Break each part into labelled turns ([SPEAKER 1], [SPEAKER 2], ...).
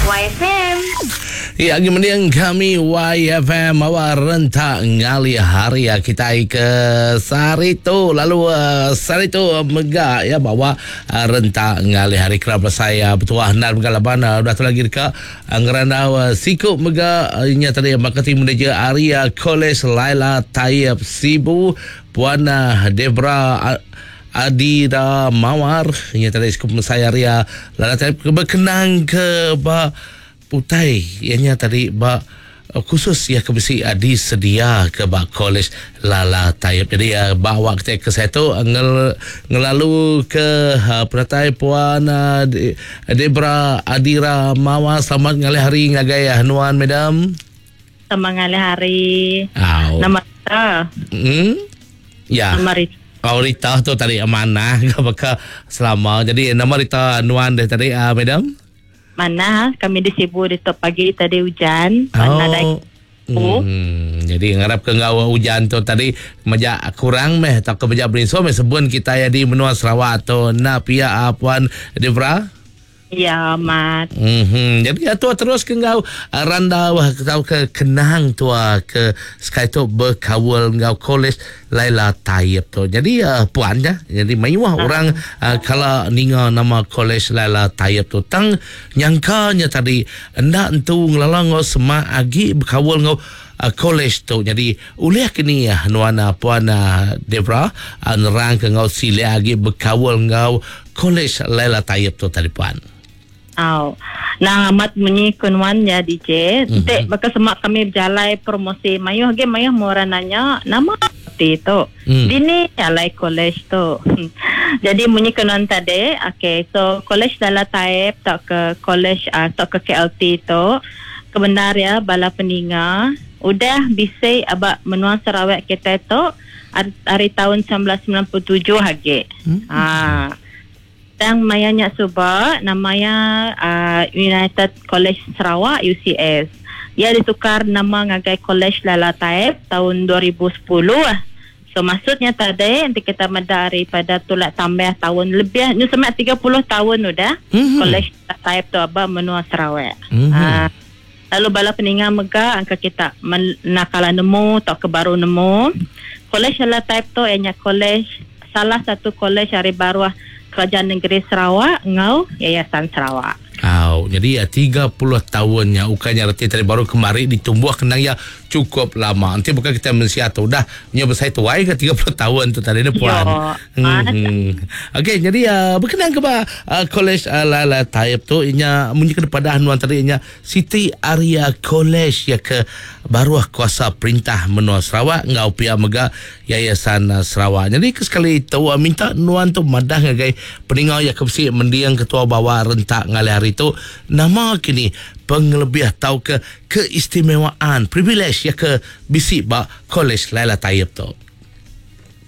[SPEAKER 1] YFM.
[SPEAKER 2] Ya, agi mending kami YFM bawa rentak ngalih hari ya kitai ke sehari tu lalu uh, sehari tu mega ya bawa uh, rentak ngalih hari kerap saya betuah endar mega laban uh, udah tu lagi deka uh, ngerandau uh, siku mega uh, nya tadi marketing manager Aria College Laila Taib Sibu Puan uh, Debra uh, Adira Mawar nya tadi siku pemesai Aria Laila Taib berkenang ke ba Utai iya nya tadi ba khusus iya ke bisi disedia ke ba Kolej Lala Taib. Jadi ba awak kitai ke saitu ngelalu ke penatai Puan Debra Adira Mawa. Selamat ngalih hari ngagai nuan madam.
[SPEAKER 3] Selamat ngalih hari.
[SPEAKER 2] Au.
[SPEAKER 3] Nama Rita.
[SPEAKER 2] Hmm. Ya.
[SPEAKER 3] Nama Rita.
[SPEAKER 2] Oh Rita tu tadi manah ke baka selama. Jadi nama Rita nuan deh tadi uh, madam?
[SPEAKER 3] Manah kami di Sibu ditu pagi tadi ujan
[SPEAKER 2] oh.
[SPEAKER 3] nadai
[SPEAKER 2] Hmm, jadi ngarap ke enggau ujan tu tadi meja kurang meh tauka meja berinsu meh sebun kita ya di menua Sarawak tu enda pia ah, puan Debra?
[SPEAKER 3] Ya amat.
[SPEAKER 2] Mm-hmm. Jadi ya, tua terus ke enggau ah, randau ah, tauka kenang tua ke sekali tu berkaul enggau kolej Laila Taib tu. Jadi uh, puan ja. Jadi mayuh uh. orang uh, kala ninga nama College Laila Taib tu tang nyangkanya tadi enda entu ngelala enggau semak agi bekaul enggau uh, college tu. Jadi ulih kini uh, nuan uh, puan uh, Debra uh, nerang ke enggau silik agi bekaul enggau College Laila Taib tu tadi puan.
[SPEAKER 3] Au. Nang amat munyi ku nuan nya DJ. Mm-hmm. Enti baka semak kami bejalai promosi mayuh agi mayuh meh orang nanya nama ti tu. Mm. Dini alai college tu. Jadi munyi ku nuan tadi, okay, so college Lala Taib tauka college uh, tauka KLT tu kebendar ya bala peninga udah bisi aba menua Sarawak kitai tu ari taun 1997 agi. Mm. Ha. Tang maya nya suba nama iya United College Sarawak, UCS. Iya ditukar nama ngagai Kolej Lala Taib taun 2010. So maksud nya tadi enti kita meda ari pada tulak tambah taun lebih nyu semak 30 taun udah Kolej Lala Taib tu aba menua Sarawak. Lalu bala peninga mega angka kita enda kala nemu tauka baru nemu, Kolej Lala Taib tu iya nya kolej salah satu kolej ari baruh Kerajaan Negeri Sarawak enggau Yayasan Sarawak.
[SPEAKER 2] Au, nyadi 30 taun nya ukai nya reti tadi baru kemari ditumbuh kenang iya chukup lama. Enti bukan kitai mensia tu udah nya besai tuai ke 30 taun tu tadi ne puan.
[SPEAKER 3] Yo.
[SPEAKER 2] Okey, nyadi bekenang ke ba kolej Lala Taib tu inya munyi ke dipadah nuan tadi inya Siti Aria College iya ke baruh kuasa perintah menua Sarawak enggau pia mega Yayasan Sarawak. Nyadi ke sekali tu minta nuan tu madah ngagai peninga iya ke bisi mending ketua bawa rentak ngalih hari tu nama kini pengelebih tauka keistimewaan, privilege iya ke bisi ba College Laila Taib tu.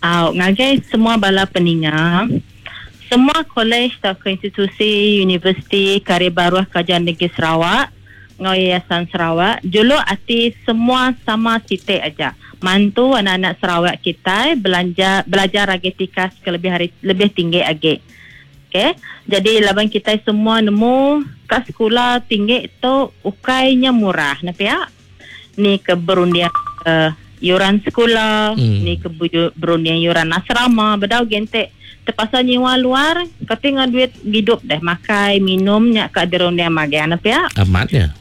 [SPEAKER 3] Au ngagai semua bala peninga. Semua kolej tauka institusi universiti ke ari baruh Kerajaan Negeri Sarawak enggau Yayasan Sarawak juluk ati semua sama siti aja, mantu anak-anak Sarawak kitai belanja belajar agi tikas ke lebih ari lebih tinggi agi. Okey, jadi laban kitai semua nemu ka sekula tinggi tu ukai nya murah ne pia. Ni ke berunding ke yuran sekula, mm. ni ke berunding yuran asrama, bedau gente terpaksa nyiwa luar, kati ngah duit gidup deh, makai, minum nya ka dirunding magang ne pia.
[SPEAKER 2] Amat nya.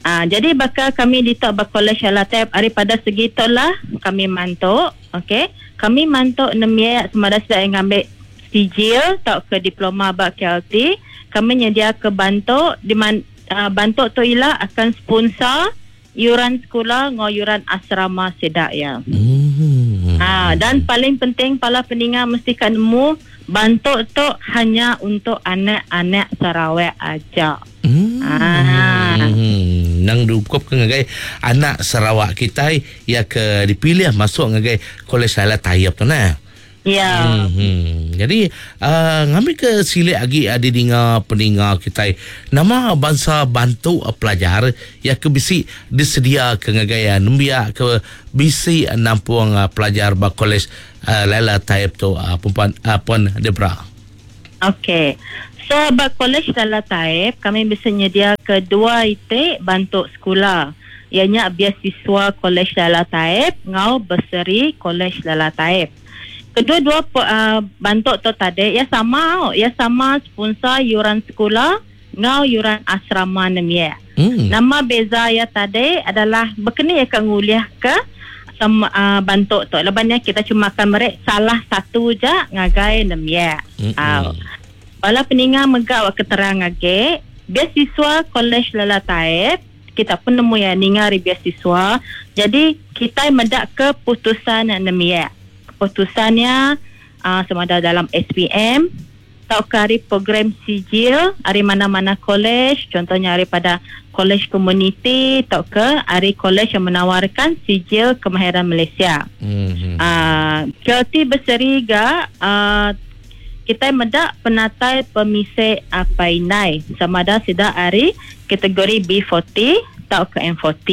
[SPEAKER 3] Ah, jadi baka kami ditu ba Kolej Alatep daripada segi tu lah kami mantu, okey. Kami mantu nembiak semada sida yang ngambil sijil tauka diploma ba KLT, kami nyediaka bantu di man Bantu tu ila akan sponsor yuran sekula enggau yuran asrama sida iya. Dan paling penting pala peninga mesti ka nemu bantu tu hanya untuk anak-anak Sarawak aja.
[SPEAKER 2] Nang diungkup ke ngagai anak Sarawak kitai iya ke dipilih masuk ngagai Kolej Laila Taib tu nah.
[SPEAKER 3] Ya.
[SPEAKER 2] Hmm. Jadi uh, ngambi ke silik agi uh, didinga peninga kitai nama bansa bantu uh, pelajar ya ke bisi disedia ke ngagai uh, nembiak ke bisi uh, nampung uh, pelajar ba kolej uh, Laila Taib tu uh, Puan uh, Puan Debra.
[SPEAKER 3] Okey. So ba Kolej Lala Taib kami bisi nyediaka dua iti bantu sekula iya nya Biasiswa Kolej Lala Taib enggau Bursary Kolej Lala Taib. Kedua-dua bantu tu tadi iya sama au, iya sama sponsor yuran sekula enggau yuran asrama nembiak. Nama beza iya tadi adalah bekeni iya ka ngulihka bantu tu laban iya kita cuma akan meri salah satu ja ngagai nembiak. Au. Bala peninga mega wak keterang agi, biasiswa Kolej Lela Taib kita pun nemu iya ninga ari biasiswa jadi kitai meda keputusan nembiak. Keputusan iya sama ada dalam SPM tauka ari program sijil ari mana-mana kolej contohnya aripada kolej komuniti tauka ari kolej yang menawarkan sijil kemahiran Malaysia. Uhh Kelti beseri ga uhh kitai meda penatai pemisi apai indai sama ada sida ari kategori B40 tauka M40.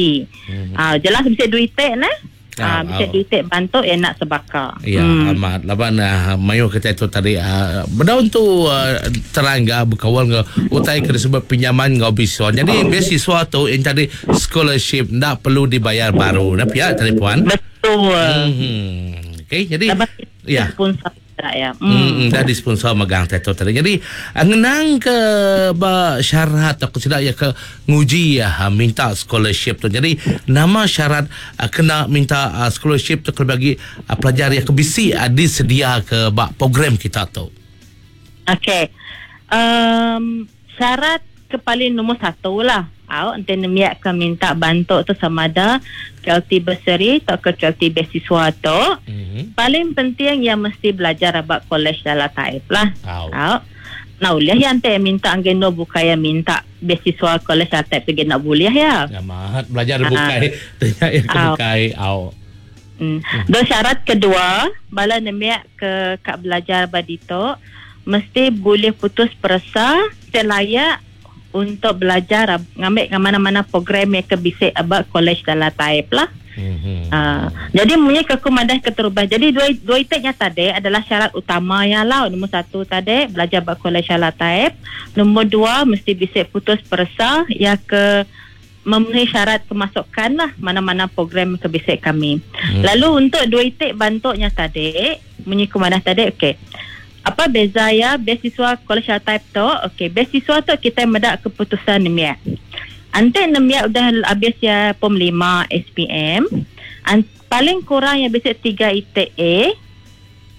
[SPEAKER 3] Uhh jelas bisi duit neh. Ah, bisi duit bantu iya enda sebaka.
[SPEAKER 2] Ya, hmm. amat. Laban uh, mayuh kita tu tadi uh, bedaun tu uh, terang ga bekaul enggau utai ke disebut pinjaman enggau beasiswa. Jadi beasiswa tu yang tadi scholarship ndak perlu dibayar baru. Nah, pia tadi puan.
[SPEAKER 3] Betul. Hmm.
[SPEAKER 2] Okey, jadi Laban ya. Sponsor ya. Hmm. Dah disponsor megang teto tadi. Jadi eh, ngenang ke ba syarat aku sida ya ke nguji ya minta scholarship tu. Jadi nama syarat eh, kena minta eh, scholarship tu kena bagi pelajar ya ke bisi disedia ke ba program kita tu.
[SPEAKER 3] Okey. Um, syarat ke paling nombor satu lah. Au, enti nembiak ke minta bantu tu sama ada KLT bursary tauka KLT beasiswa tu. Mm-hmm. Paling penting ia mesti belajar aba kolej dalam Taib lah. Au. Au. Nah ulih ya enti minta angin no bukai ya minta beasiswa kolej dalam Taib tu nak boleh ya.
[SPEAKER 2] Ya mahat belajar ah. bukai tanya ya ke bukai au.
[SPEAKER 3] Hmm. Do syarat kedua bala nembiak ke ka belajar ba ditu mesti bulih putus peresa ti layak untuk belajar ngambi ke mana-mana program iya ke bisi ba kolej dalam Taib lah. Mm-hmm. Uh, jadi munyi ke aku madah keterubah. Jadi dua dua iti nya tadi adalah syarat utama iya lah. Nombor satu tadi belajar ba kolej dalam Taib. Nombor dua mesti bisi putus peresa iya ke memenuhi syarat kemasukan lah mana-mana program ke bisi kami. Hmm. Lalu untuk dua iti bantu nya tadi, munyi ku madah tadi okey. Apa beza iya beasiswa Kolej Type tu? Okey, beasiswa tu kitai meda keputusan nembiak. Enti nembiak udah abis iya pom lima SPM, paling kurang iya bisi tiga iti A,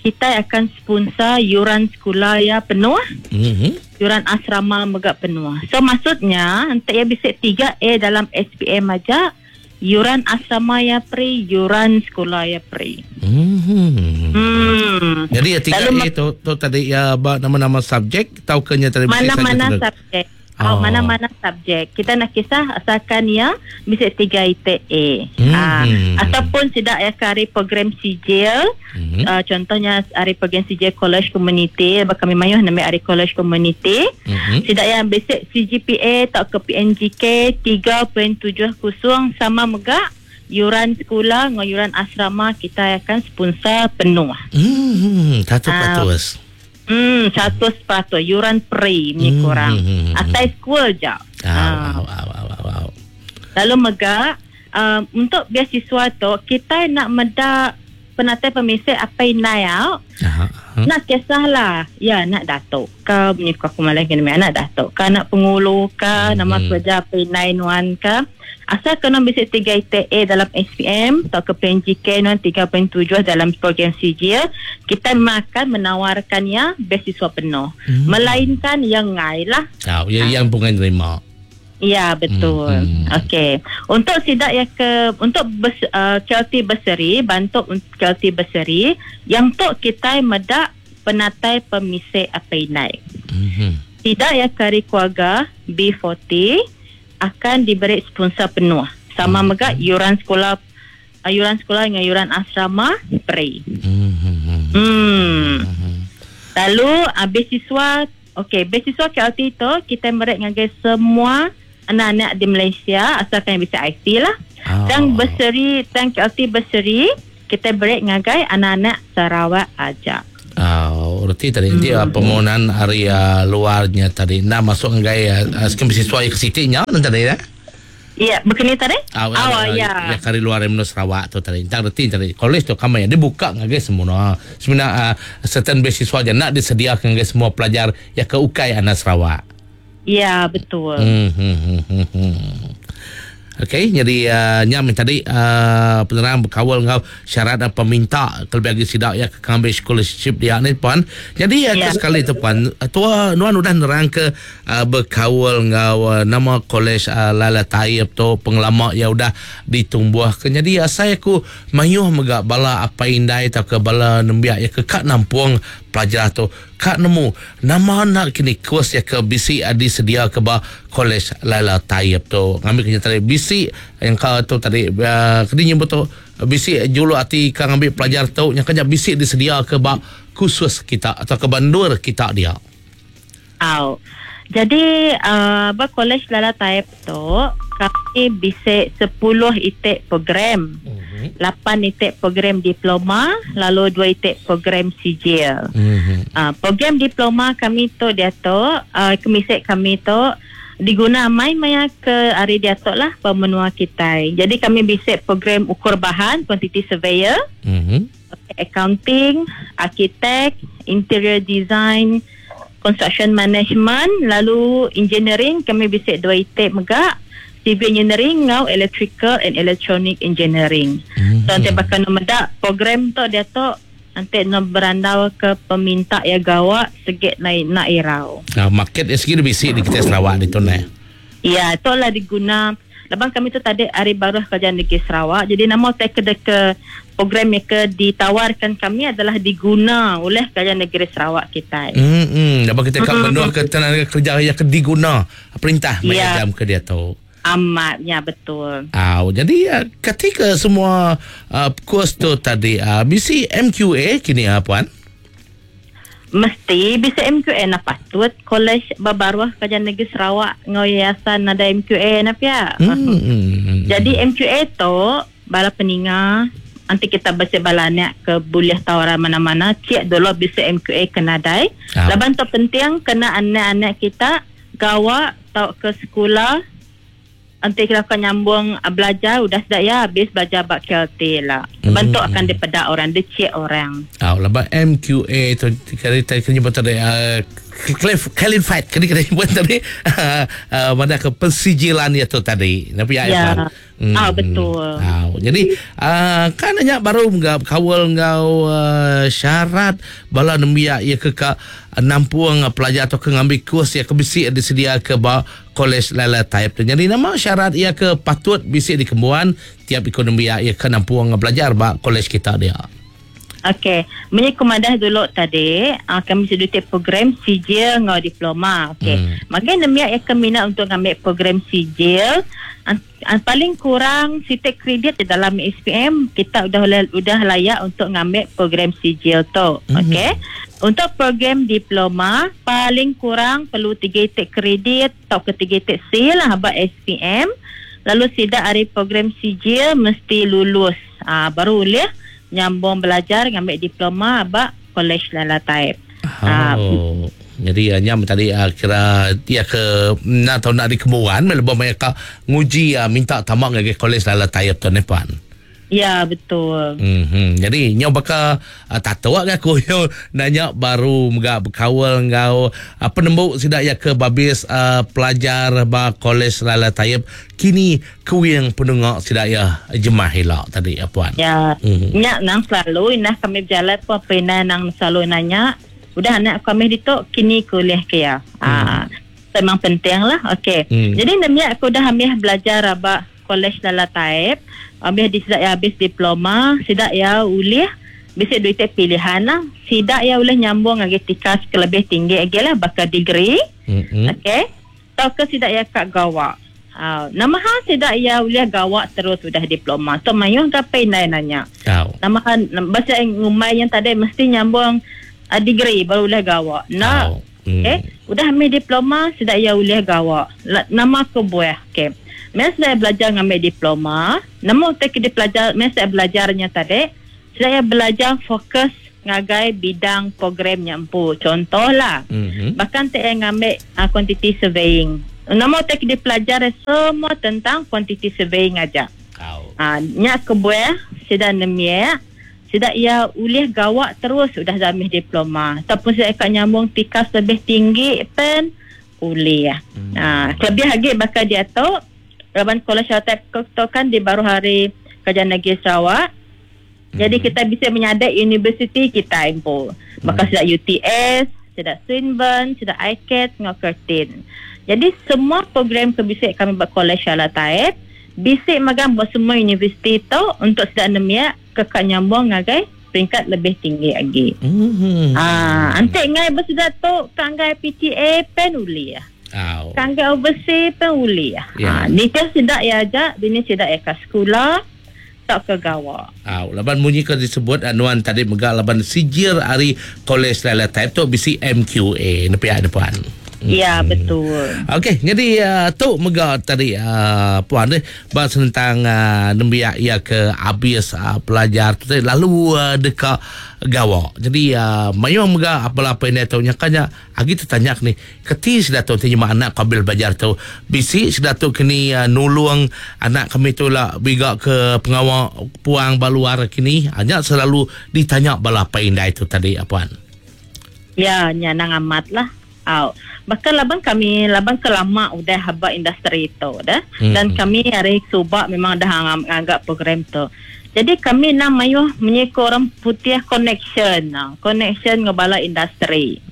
[SPEAKER 3] kitai akan sponsor yuran sekula iya penuh, mm-hmm. yuran asrama mega penuh. So maksudnya enti iya bisi tiga A dalam SPM aja, yuran asrama iya free, yuran sekula iya free.
[SPEAKER 2] Mm-hmm. Hmm. Jadi ya tiga A tu, tu tadi ya ba nama-nama subjek tau ke nya tadi
[SPEAKER 3] mana-mana subjek. Oh. Mana-mana subjek. Kita nak kisah asalkan ya bisi 3 iti A. Hmm. Uh, ataupun sidak ya ke ari program sijil. Hmm. Uh, contohnya ari program sijil college community, baka kami mayuh nembiak ari college community. Hmm. Sidak ya bisi CGPA tauka PNGK 3.70 sama mega yuran sekula enggau yuran asrama kita akan sponsor penuh.
[SPEAKER 2] Hmm, 100%. Uh,
[SPEAKER 3] Hmm, 100% yuran free ni hmm, kurang. Atai school je.
[SPEAKER 2] Au, au, au, au, au, au.
[SPEAKER 3] Lalu mega um, untuk beasiswa tu kita nak meda penatai pemisik apa inai au. Aha. Nak kisahlah. Ya, nak datuk ke bunyi aku malah kena anak datuk ke anak pengulu ke nama kerja apa inai nuan ke. Asal kena bisi 3 iti A dalam SPM tauka PNGK nuan 3.7 dalam program sijil, kita memang akan menawarkan iya beasiswa penuh. Hmm. Melainkan yang ngai lah.
[SPEAKER 2] Oh, ya, yang pun nerima.
[SPEAKER 3] Ya, betul. Hmm. Okey. Untuk sidak yang ke untuk bes, uh, KLT bursary, bantu KLT bursary, yang tu kita medak penatai pemisik apa inai. Hmm. Sidak yang kari keluarga B40 akan diberi sponsor penuh. Sama hmm. mega yuran sekolah uh, yuran sekolah dengan yuran asrama free. Hmm. Hmm. Lalu uh, beasiswa okey, beasiswa KLT tu kita beri ngagai semua anak-anak di Malaysia asalkan yang bisa IC lah. Oh. Dan bursary, dan KLT bursary kita beri ngagai anak-anak Sarawak aja.
[SPEAKER 2] Oh, reti tadi enti mm. permohonan ari uh, luarnya tadi nak masuk ngagai uh, skim beasiswa ke siti nya nanti tadi ya.
[SPEAKER 3] Ya, begini tadi?
[SPEAKER 2] Oh, oh ya. Ya kari luar menua Sarawak tu tadi. Entang reti tadi. College tu kami dia buka ngagai semua. Sebenarnya uh, certain beasiswa je nak disediakan ngagai semua pelajar ya ke ukai anak Sarawak.
[SPEAKER 3] Ya, betul.
[SPEAKER 2] Okey, jadi uh, nyam tadi penerang berkawal ngau syarat dan peminta kelebih lagi sidak ya ke ngambil scholarship dia ni puan. Jadi uh, ya. sekali tu puan, tua nuan udah nerang ke berkawal ngau nama college Lala Taib tu pengelama ya udah ditumbuh ke. Jadi saya aku mayuh mega bala apa indai atau ke bala nembiak ya ke kak nampung pelajar tu kak nemu nama nak kini kos ya ke bisi disedia ke ba college Laila Taib tu. Ngambil kenya tadi bisi yang ka tu tadi uh, kini nyebut tu bisi julu ati ka ngambil pelajar tu yang kenya bisi disedia ke ba khusus kita atau ke bandur kita dia.
[SPEAKER 3] Au. Jadi ba college Lala Taib tu kami bisa 10 itik program. Mm-hmm. 8 itik program diploma lalu 2 itik program sijil. Mm-hmm. Program diploma kami tu dia tu kemisik kami tu diguna mai maya ke hari dia tu lah pemenua kita. Jadi kami bisa program ukur bahan quantity surveyor, mm-hmm. accounting, architect, interior design, construction management, lalu engineering kami bisa 2 itik megak civil engineering ngau electrical and electronic engineering. Mm-hmm. So nanti bakal medak program tu dia tu nanti nak berandau ke peminta ya gawak segit naik nak irau.
[SPEAKER 2] Nah, market segi bisi di kita Sarawak di tu ne.
[SPEAKER 3] Ya, itulah diguna. Lepas kami tu tadi hari baru kerajaan negeri Sarawak. Jadi nama saya ke program yang ke ditawarkan kami adalah diguna oleh kerajaan negeri Sarawak kita.
[SPEAKER 2] Lepas kita kat benua ke tenaga kerja yang ke diguna perintah ya. Jam ke dia tu.
[SPEAKER 3] Amatnya betul.
[SPEAKER 2] Jadi ketika semua kurs tu tadi bisi MQA kini puan?
[SPEAKER 3] Mesti bisa MQA nak patut college babaruah kerajaan negeri Sarawak ngau yayasan ada MQA nak ya. Jadi MQA tu bala peninga nanti kita baca bala anak ke boleh tawaran mana-mana cek dulu bisa MQA kena dai. Laban tu penting kena anak-anak kita gawa tau ke sekolah nanti kita akan nyambung belajar udah sudah ya habis belajar bak KLT lah. Bentuk akan dipedak orang, dicek orang.
[SPEAKER 2] Lepas MQA tu kali tadi kena nyebut tadi qualified kali kena nyebut tadi mana ke pensijilan ya tu tadi. Tapi ya.
[SPEAKER 3] Betul.
[SPEAKER 2] Jadi kan nanya baru enggak kawal ngau syarat bala nembiak ya ke ka nampuang pelajar atau ke ngambil kurs ya ke bisi disedia ke ba college Lala Taib tu. Jadi nama syarat ia ke patut bisi dikembuan tiap ekonomi ya ke nampuang belajar ba college kita dia.
[SPEAKER 3] Okey, menyekumadah dulu tadi, kami sudah program sijil ngau diploma. Okey. Maka nembiak yang keminat untuk ambil program sijil paling kurang sitik kredit di dalam SPM kita udah layak untuk ngambil program sijil tu. Okey. Untuk program diploma paling kurang perlu 3 titik kredit atau ke 3 titik C lah abang SPM. Lalu sidak hari program sijil mesti lulus. Baru boleh nyambung belajar ngambil diploma abang college Lala Taib.
[SPEAKER 2] Jadi nyam tadi kira dia ke nak tahu nak dikemuan lebih banyak nguji minta tamak ke college Lala Taib tu ni puan.
[SPEAKER 3] Ya betul.
[SPEAKER 2] Jadi nyo bakal tahu ke aku nyo nanya baru mga berkawal ngau penembuk sidak ya ke babis pelajar ba college Lala Taib kini kuing penungak sidak ya jemah hilak tadi puan.
[SPEAKER 3] Ya. Nyak nang selalu inah kami berjalan pun pena nang selalu nanya udah anak kami ditok kini kuliah ke ya. Memang penting lah. Okey. Jadi nemiak aku dah ambil belajar abak college Lala Taib, ambil di sidak ya habis diploma, sidak ya ulih bisa duit pilihan lah. Sidak ya ulih nyambung lagi tikas ke lebih tinggi lagi lah bakal degree. Okey. Tau ke sidak ya kak gawak. Nama ha sidak ya ulih gawak terus sudah diploma. So mayung kapai nanya. Nama ha bahasa ngumai yang tadi mesti nyambung degree baru boleh gawak. Nak. Okey, udah ambil diploma sudah ya boleh gawak. Nama aku buah. Okey. Masa saya belajar ngambil diploma, nama tak dia belajar, masa saya belajarnya tadi, saya belajar fokus ngagai bidang program nya empu. Contohlah, mm-hmm. bahkan ti ngambil quantity surveying. Nama ti dipelajar semua tentang quantity surveying aja. Oh. Nya kebuah sida nemia sida ia ulih gawak terus udah zamih diploma ataupun sida ka nyambung tikas lebih tinggi pen ulih. Lebih lagi bakal dia tu laban Kolej Type tu kan di baru hari Kerajaan Negeri Sarawak. Jadi kita bisa menyadai universiti kita empu. Maka sida UTS, sida Swinburne, sida ICAT, ngau Curtin. Jadi semua program ke bisa kami buat Kolej Syala Taib, bisa magang buat semua universiti tu untuk sida nemia ke kak nyambung ngagai peringkat lebih tinggi lagi. Antik ngai bersudah tu kanggai PTA pen uli ya. Kanggai overseas pen uli ya. Ni kan sida ya aja, dini sida ya ke sekolah tak ke gawa.
[SPEAKER 2] Laban munyi ke disebut anuan tadi mega laban sijir ari Kolej Laila Taib tu bisi MQA nepiak depan.
[SPEAKER 3] Ya, betul.
[SPEAKER 2] Okey, jadi tu mega tadi puan ni bahas tentang nembiak ia ke habis pelajar tu tadi lalu deka gawa. Jadi mayung mega apa-apa ini tu nyakanya agi tertanya ni keti sudah tu terima anak kabil belajar tu bisi sudah tu kini nulung anak kami tu lah biga ke pengawal puang baluar kini hanya selalu ditanya bala apa indai tu tadi puan.
[SPEAKER 3] Ya, nyanang amat lah. Au. Bahkan laban kami laban kelama udah haba industri itu dah. Dan kami hari subak memang dah nganggap program tu. Jadi kami nak mayuh menyekor orang putih connection, connection ngebala industri.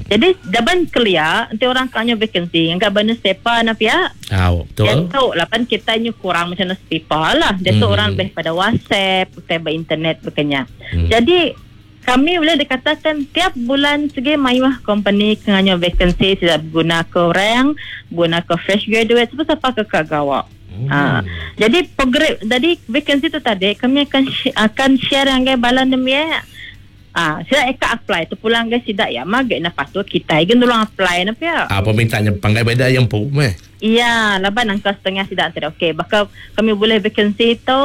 [SPEAKER 3] Jadi daban kelia nanti orang tanya vacancy, enggak benar sepa na pia.
[SPEAKER 2] Betul.
[SPEAKER 3] Dia tu laban kita nyu kurang macam sepa lah. Dia tu orang lebih pada WhatsApp, pada internet berkenya. Jadi kami boleh dikatakan tiap bulan segi mayuh company kenganya vacancy tidak guna ke orang, guna ke fresh graduate, siapa-siapa ke kagawak. Jadi program, jadi vacancy tu tadi kami akan share dengan bala nemia. Sila eka apply tu pulang ke sidak ya magek na patut kita igen tolong apply na pia.
[SPEAKER 2] Permintaannya panggai beda yang pu meh.
[SPEAKER 3] Iya, laban angka setengah sidak tidak okey. Bakal kami boleh vacancy tu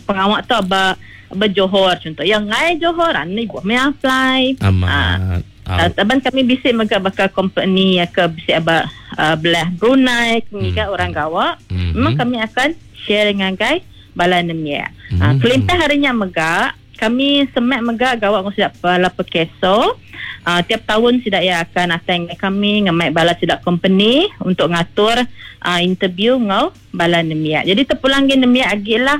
[SPEAKER 3] pengawak tu aba berjohor contoh. Yang ngai Johor ni buat me apply.
[SPEAKER 2] Amat.
[SPEAKER 3] Taban kami bisik mega bakal company ya ke bisik aba belah Brunei kami orang gawak. Memang kami akan share dengan guys bala nemia. Kelintah harinya mega kami semak mega gawak ngau sidak bala pekeso. Tiap tahun sidak ya akan ateng kami ngemaik bala sidak company untuk ngatur interview ngau bala nemia. Jadi terpulang ge nemia agilah.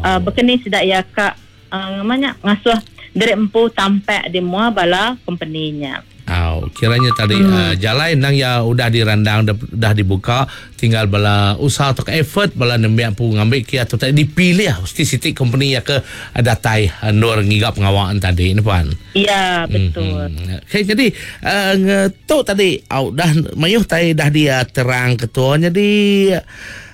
[SPEAKER 3] Berkeni sidak ya kak namanya ngasuh derek empu tampak di mua bala company-nya.
[SPEAKER 2] Kiranya tadi jalan nang ya udah dirandang dah dibuka, tinggal bala usaha atau effort bala nembiak pu ngambil kia atau tadi dipilih mesti siti company ya ke datai nur ngigap pengawaan tadi ni puan.
[SPEAKER 3] Ya, betul.
[SPEAKER 2] Okey, jadi tu tadi dah mayuh tai dah dia terang ketua jadi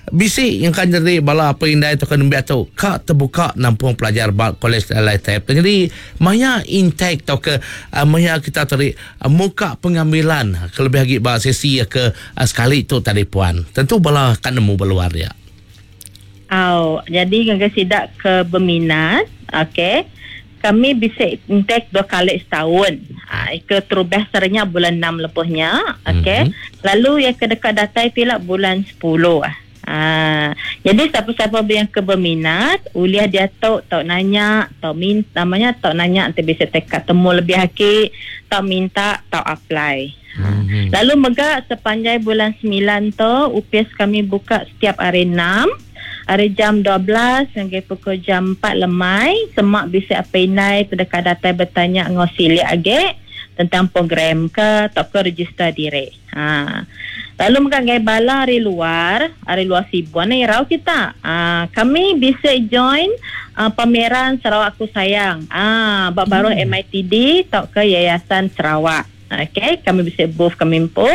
[SPEAKER 2] bisi yang kan jadi bala apa indai tu kan nembiak tu kak terbuka nampung pelajar bal kolej LITEP. Jadi maya intake atau ke maya kita tadi muka pengambilan kelebih lagi bal sesi ke sekali tu tadi puan. Tentu bala kan nemu beluar dia.
[SPEAKER 3] Jadi ngga sidak ke berminat, okey. Kami bisa intake 2 kali setahun. Ke terubah sernya bulan 6 lepuhnya, okey. Lalu yang ke dekat datai pula bulan 10. Jadi siapa-siapa yang keberminat, uliah dia tahu tau nanya, tau minta namanya tau nanya nanti bisa tekad temu lebih haki, tau minta, tau apply. Lalu mega sepanjang bulan 9 tu UPS kami buka setiap hari 6, hari jam 12 hingga pukul jam 4 lemai, semak bisa apa inai terdekat datai bertanya ngau silik age tentang program ke atau ke register diri. Lalu menganggai bala hari luar Sibuan ni rau kita. Kami bisa join pameran Sarawak Aku Sayang. Bab baru MITD atau ke Yayasan Sarawak. Okey, kami bisa booth kami empu.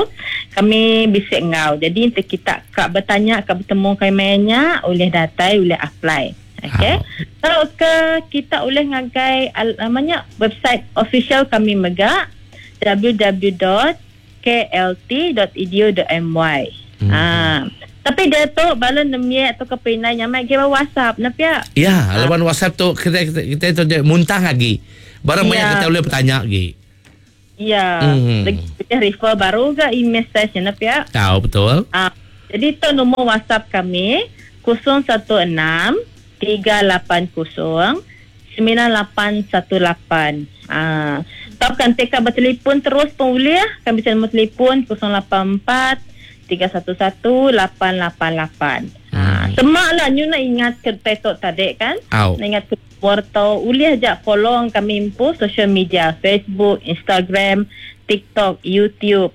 [SPEAKER 3] Kami bisa ngau. Jadi nanti kita kak bertanya, kak bertemu kami oleh datai, oleh apply. Okey. Kalau ke kita boleh ngagai namanya website official kami mega www.klt.edu.my. Tapi dia tu bala nemia atau kepinai nyamai ke WhatsApp nak ya.
[SPEAKER 2] Ya, lawan WhatsApp tu kita tu muntah lagi. Barang maya kita boleh bertanya lagi.
[SPEAKER 3] Ya. Mm. Lagi refer baru ke e-message nya pia.
[SPEAKER 2] Tahu betul.
[SPEAKER 3] Ah, jadi tu nombor WhatsApp kami 016 380 9818. Ah, tau kan teka bertelefon terus pun boleh. Kami bisa nombor telefon 084 311 888. Ah, semak lah nyu nak ingat ke petok tadi kan?
[SPEAKER 2] Au.
[SPEAKER 3] Nak ingat ke warta boleh aja follow kami impu social media Facebook, Instagram, TikTok, YouTube.